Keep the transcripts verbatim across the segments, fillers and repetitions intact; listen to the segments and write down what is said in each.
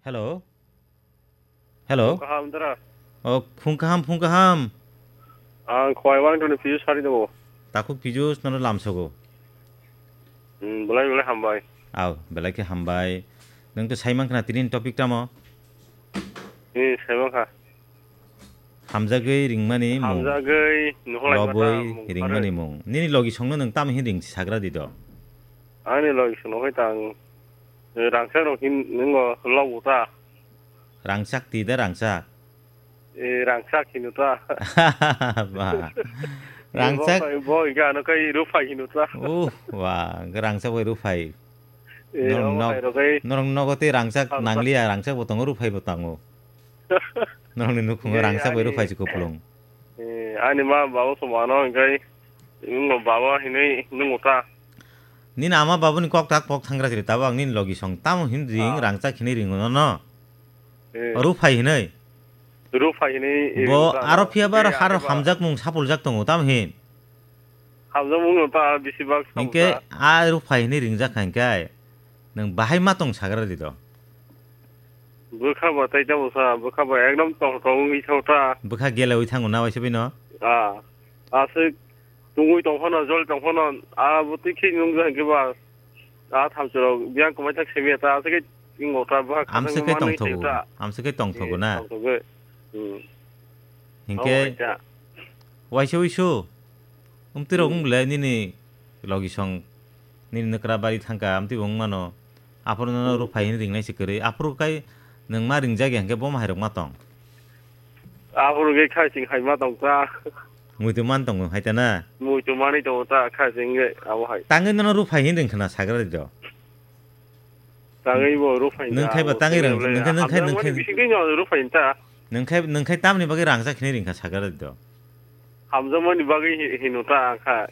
Hello. Hello. Kaham dara. Oh, phung kaham, phung kaham. Ang khwai wang toni Piyush sari dobo. Takhuk Piyush, nono lamsogo. Hmm, belai belai hambai. Aw, belai khe hambai. Nwng to saiman khna tini topic tamo? Hmm, saiman kha. Hamjagwi ringmani mung. Hamjagwi nuhulai mata. Lobwi mung ringmani mung. Nini logi songno nwng tamo hin ring sagra di do? Ani logi songno hai tang. Eh, rangchak rok hin nwngo lobo ta. Rangchak ti da rangchak. Eh, rangchak hino ta. Ba. Rangchak. Bo, bo, ga no kai ruphai hino ta. Uh, wa, ga rangchak bai ruphai. Eh, norok nog-, norok nogo tei rangchak nangliya, rangchak bo tongo, ruphai bo tongo. Norokni nukhungo rangchak bai ruphai si kuplung. Eh, ani ma baba somano, hingkai, baba hinui nungo ta. Nini ama babuni kok tak pok thangra siri, tabo ang nini logi song tamo hin ring, rangchak hinui ringo no no. Eh. Ruphai hinui. Ruphai hinui, eh, bo ruphai aro no. Phiya ba aro haro hamjak mung sapuljak tongo, tamo hin. Hamjakmung no ta bisi bak hinkhe sabusa. A ruphai hinui ringjak kha hinkhe nwng bahai ma tong sagra di do. Bwkha ba tai tamo sa, bwkha ba ekdom tong tong wngwi thao ta. Bwkha gelewi thango na waisa bino? Ah, aswk tungwi tong phano, jol tong phano, a bo twi khe nungjak hinkhe ba, a thamchi rok biyang kwmai thak simi ta, aswk khe wngbo ta, bwkha khasang manwi tong thogo, amswk khe tong thogo na? Eh, tong thogo. Hmm. Hinkhe waisa wisu. Umtwi rok wng le nini logi song, nini nokra bari thangka, amtwi bo wng mano. Aphuru no ruphai hinui ringnai se kwrwi. Aphuru kai nwng ma ringjak ya hinkhe bo ma hai rok ma tong. Aphuru khe khai sing hai ma tong ta. Muitu man tongo hai ta na? Muitu manwi tongo ta khai sing khe abo hai. Tangwi nono ruphai hinui ring khna sagra di do. Tangwi bo ruphai nwng khai ba tangwi rang, nwng khai, nwng khai, nwng khai. Bising twi no ruphai ta. Nwng khai, nwng khai tamni bagwi rangchak hinui ring kha sagra di do. Hamjakmani bagwi hi-, hino ta ang kha.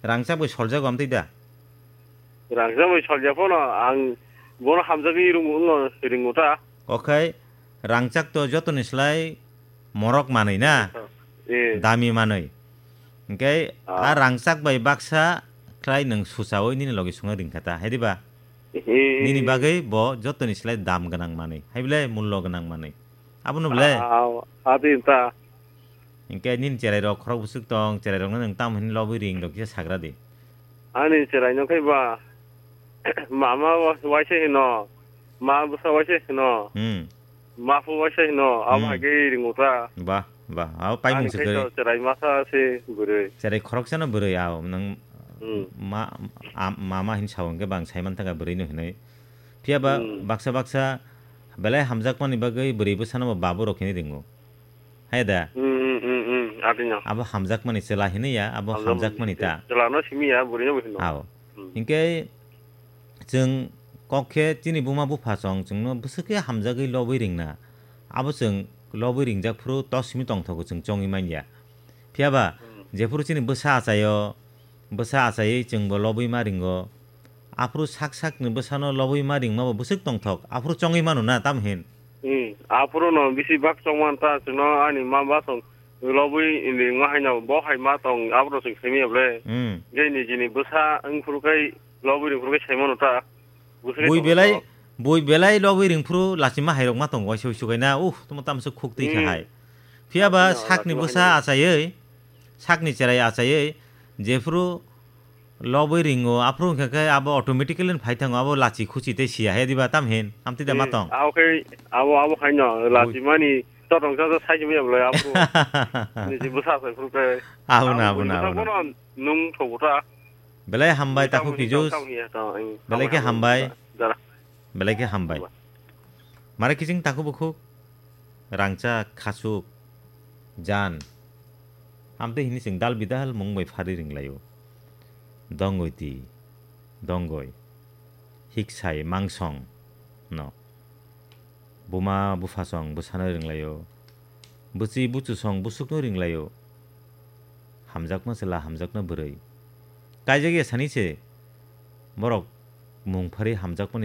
Rangchak bai soljago amtwi da? Rangchak bai solja phano ang bono hamjagwi rwngo, wngo ringo ta. Okhai rangchak to jotoni slai morok manwi na? Eh. Dami manwi. Hinkhe a rangchak bai baksa khlai nwng suchaui nini logi songno ringkha ta, hai diba? Eh. Nini bagwi bo jotoni slai dam gwnang manwi, hai bwle mullo gwnang manwi. Abono bwle? Ah, ah, adi ta. Hinkhe nini cherai rok khorok bwswk tong, cherai rokno nwng tamo hini lobwi ring rok kisa sagra di. Ani cherai no khai ba, mama wa-, waisa hino, ma bwsa waisa hino, hmm, ma phu waisa hino, abo hai khe ringo ta. Ba, ba, abo paimung se kwrwi. Ani khai to cherai masa se bwrwi. Cherai khoroksa no bwrwi, ao nwng ma, a, mama hin sao hinkhe bang saiman thangkha bwrwi no hinwi. Phiya ba baksa baksa belai hamjakmani bagwi bwrwi bwsano bo babu rok hinwi ringo. Hai da? Hmm, hmm, hmm, hmm, atino. Abo hamjakmani chwla hinwi ya, abo hamjakmani ta. Chwla no simi ya, bwrwi no bo hino. Ao. Hmm. Hinkhe chwng kok khe chini buma bupha chong chwngno bwswk khe hamjagwi lobwi ringna. Abo chwng lobwi ringjak phuru to simi tongthogo chwng chongwi manya. Phiya ba, hmm, jephuru chini bwsa achaio, bwsa achaiwi chwngbo lobwi ma ringo. Aphuru sak sakni bwsano lobwi ma ringmabo bwswk tongthok, aphuru chongwi mano na, tamo hin? Hmm, aphuru no bisi bak chongman ta, chwngno ani ma ba song lobwi ringma haino bo hai ma tong, aphuru chwng simi ya bwle. Hmm. Gei nijini bwsa wngphuru kai lobwi ringphuru kai sai mano ta. Bwswk bui tongthok belai, bui belai lobwi ringphuru lachima hai rok ma tongo, waisa uisu kaina, uh, tamo tamswk khuk twi kha hai. Hmm. Phiya ba sakni bwsa achaiwi, sakni cherai achaiwi, jephuru lobwi ringo, aphuru wngkha khe abo automatically phai thango, abo lachi khuchi tei siya he diba tam hin, amtwi da ma tong. Abo khe, abo, abo haino lachi mani totong sa sa sai maya bwlai aphuru. Niji bwsa sai phuru khe. Abo na, abo na, abo na. Nung thogo ta. Belai hambai takhuk Pijus. Belai khe hambai. Belai khe hambai. Mare kiching takhuk bukhuk. Rangchak, khasuk, jan. Amtwi hini chwng dal bidal mung bai phari ringlaio. Dongoi ti, dongoi. Hiksai mangsong no. Buma buphasong bwsano ringlaio. Bwchwi buchusong bwswkno ringlaio. Hamjakma chwla, hamjakma bwrwi. Kaijak ya sani se borok mung phari hamjakmani